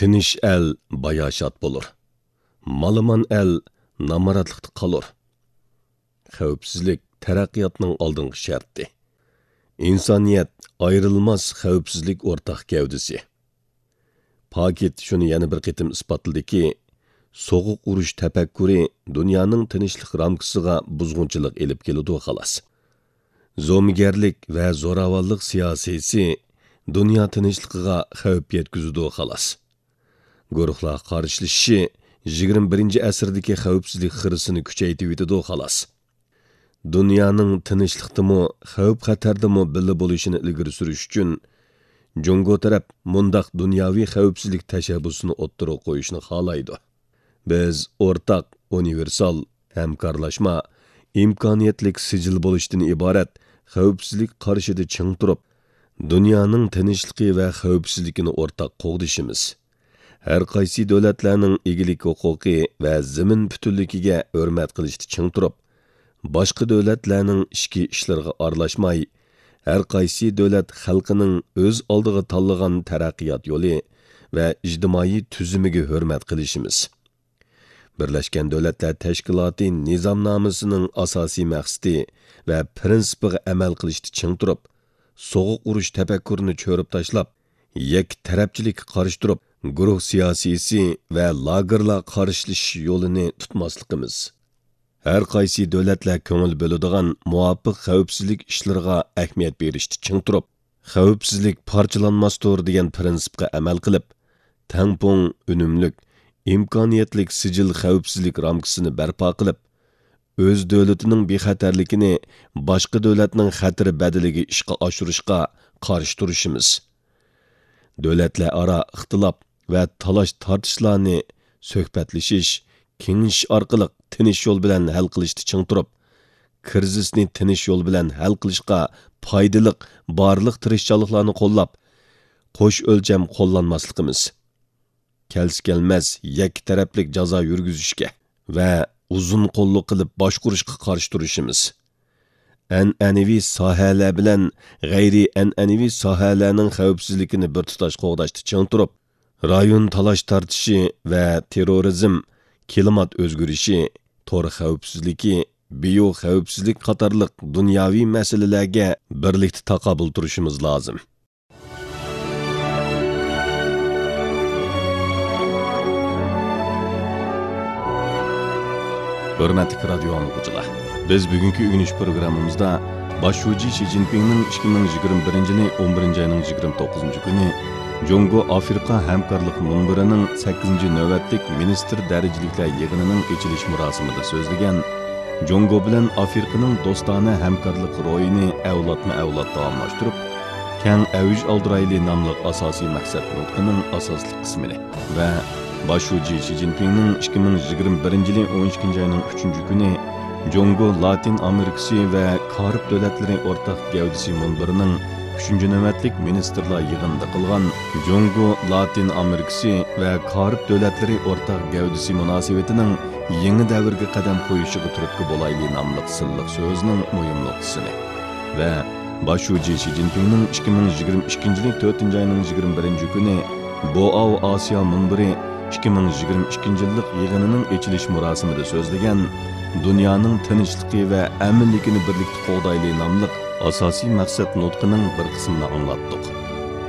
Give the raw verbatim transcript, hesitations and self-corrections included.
تىنچ ئەل باياشات بولۇر. مالىمان ئەل نامراتلىقتا قالۇر. خەۋپسىزلىك تەرەققىياتنىڭ ئالدىنقى شەرتى. ئىنسانىيەت ئايرىلماس خەۋپسىزلىك ئورتاق گەۋدىسى. پاكىت شۇنى يەنە بىر قېتىم ئىسپاتلىدىكى، سوغۇق ئۇرۇش تەپەككۇرى دۇنيانىڭ تىنچلىق رامكىسىغا بۇزغۇنچىلىق ئېلىپ كېلىدۇ، خالاس. زومىگەرلىك ۋە زوراۋانلىق سىياسىيسى دۇنيا تىنچلىقىغا خەۋپ يەتكۈزىدۇ، خالاس. گۇرۇھلار قارشىلىشىشى يىگىرمە بىرىنچى ئەسىردىكى خەۋپسىزلىك خىرىسىنى كۈچەيتىۋېتىدۇ، خالاس. دۇنيانىڭ تىنچلىقتىمۇ، خەۋپ-خەتەردىمۇ بىللە بولۇشىنى ئىلگىرى سۈرۈش ئۈچۈن، جۇڭگو تەرەپ مۇنداق دۇنياۋى خەۋپسىزلىك تەشەببۇسىنى ئوتتۇرىغا قويۇشنى خالايدۇ. بىز ئورتاق، ئۇنىۋېرسال، ھەمكارلاشما، ئىمكانىيەتلىك سىجىل بولۇشتىن ئىبارەت خەۋپسىزلىك قارىشىدا چىڭ تۇرۇپ، دۇنيانىڭ تىنچلىقى ۋە خەۋپسىزلىكىنى ئورتاق قوغدىشىمىز. ھەر قايسى دۆلەتلەرنىڭ ئىگىلىك ھوقۇقى ۋە زېمىن پۈتۈنلۈكىگە ھۆرمەت قىلىشتا چىڭ تۇرۇپ، باشقا دۆلەتلەرنىڭ ئىچكى ئىشلىرىغا ئارىلاشماي، ھەر قايسى دۆلەت خەلقىنىڭ ئۆز ئالدىغا تاللىغان تەرەققىيات يولى ۋە ئىجتىمائىي تۈزۈمىگە ھۆرمەت قىلىشىمىز. بىرلەشكەن دۆلەتلەر تەشكىلاتى نىزامنامىسىنىڭ ئاساسىي مەقسىتى ۋە پىرىنسىپىغا ئەمەل قىلىشتا چىڭ تۇرۇپ، سوغۇق ئۇرۇش تەپەككۇرىنى چۆرۈپ تاشلاپ، يەككە تەرەپچىلىككە قارشى تۇرۇپ، گۇرۇھ سىياسىيسى ۋە لاگېرلار قارشىلىشىش يولىنى تۇتماسلىقىمىز. ھەر قايسى دۆلەتلەر كۆڭۈل بۆلىدىغان مۇۋاپىق خەۋپسىزلىك ئىشلىرىغا ئەھمىيەت بېرىشتە چىڭ تۇرۇپ، خەۋپسىزلىك پارچىلانماستۇر دېگەن پىرىنسىپقا ئەمەل قىلىپ، تەڭپۇڭ، ئۈنۈملۈك، ئىمكانىيەتلىك سىجىل خەۋپسىزلىك رامكىسىنى بەرپا قىلىپ، ئۆز دۆلىتىنىڭ بىخەتەرلىكىنى باشقا دۆلەتنىڭ خەتىرى بەدىلىگە ئىشقا ئاشۇرۇشقا قارشى تۇرۇشىمىز. دۆلەتلەر ئارا ئىختىلاپ ۋە تالاش-تارتىشلارنى سۆھبەتلىشىش، كېڭىشىش ئارقىلىق تىنچ يول بىلەن ھەل قىلىشتا چىڭ تۇرۇپ، كىرىزىسنى تىنچ يول بىلەن ھەل قىلىشقا پايدىلىق بارلىق تىرىشچانلىقلارنى قوللاپ، قوش ئۆلچەم قوللانماسلىقىمىز، كەلسە-كەلمەس يەككە تەرەپلىك جازا يۈرگۈزۈشكە ۋە ئۇزۇن قوللۇق قىلىپ باشقۇرۇشقا قارشى تۇرۇشىمىز. ئەنئەنىۋى ساھەلەر بىلەن غەيرىي ئەنئەنىۋى ساھەلەرنىڭ خەۋپسىزلىكىنى بىر تۇتاش قوغداشتا چىڭ تۇرۇپ، رايون تالاش-تارتىشى ۋە تېررورىزم، كىلىمات ئۆزگىرىشى، تور خەۋپسىزلىكى، بىيو خەۋپسىزلىك قاتارلىق دۇنياۋى مەسىلىلەرگە بىرلىكتە تاقابىل تۇرۇشىمىز لازىم. ھۆرمەتلىك رادىيو ئاڭلىغۇچىلار، بىز بۈگۈنكى ئۆگىنىش پروگراممىمىزدا باش شۇجى شى جىنپىڭنىڭ ئىككى مىڭ يىگىرمە بىرىنچى يىلى ئون بىرىنچى ئاينىڭ يىگىرمە توققۇزىنچى كۈنى جۇڭگو ئافرىقا ھەمكارلىق مۇنبىرىنىڭ سەككىزىنچى نۆۋەتلىك مىنىستىر دەرىجىلىكلەر يىغىنىنىڭ ئېچىلىش مۇراسىمىدا سۆزلىگەن، جۇڭگو بىلەن ئافرىقىنىڭ دوستانە ھەمكارلىق روھىنى ئەۋلادمۇ ئەۋلاد داۋاملاشتۇرۇپ، كەڭ ئەۋج ئالدۇرايلى ناملىق ئاساسىي مەقسەت نۇتقىنىڭ ئاساسلىق قىسمىنى ۋە باش شۇجى شى جىنپىڭنىڭ ئىككى مىڭ يىگىرمە بىرىنچى يىلى ئون ئىككىنچى ئاينىڭ ئۈچىنچى كۈنى جۇڭگو لاتىن ئامېرىكىسى ۋە كارىب دۆلەتلىرى ئورتاق گەۋدىسى مۇنبىرىنىڭ ئۈچىنچى نۆۋەتلىك مىنىستىرلار يىغىنىدا قىلغان جۇڭگو لاتىن ئامېرىكىسى ۋە كارىب دۆلەتلىرى ئورتاق گەۋدىسى مۇناسىۋىتىنىڭ يېڭى دەۋرگە قەدەم قويۇشىغا تۈرتكە بولايلى ناملىق سىرلىق سۆزىنىڭ مۇھىم نۇقتىسىنى ۋە باش شۇجى شى جىنپىڭنىڭ ئىككى مىڭ يىگىرمە ئىككىنچى يىلى تۆتىنچى ئاينىڭ يىگىرمە بىرىنچى كۈنى بوئاۋ ئاسىيا مۇنبىرى ئىككى مىڭ يىگىرمە ئىككىنچى يىللىق يىغىنىنىڭ ئېچىلىش مۇراسىمىدا سۆزلىگەن، دۇنيانىڭ تىنچلىقى ۋە ئەمىنلىكىنى بىرلىكتە قوغدايلى ناملىق ئاساسىي مەقسەت نۇتقىنىڭ بىر قىسمىنى ئاڭلاتتۇق.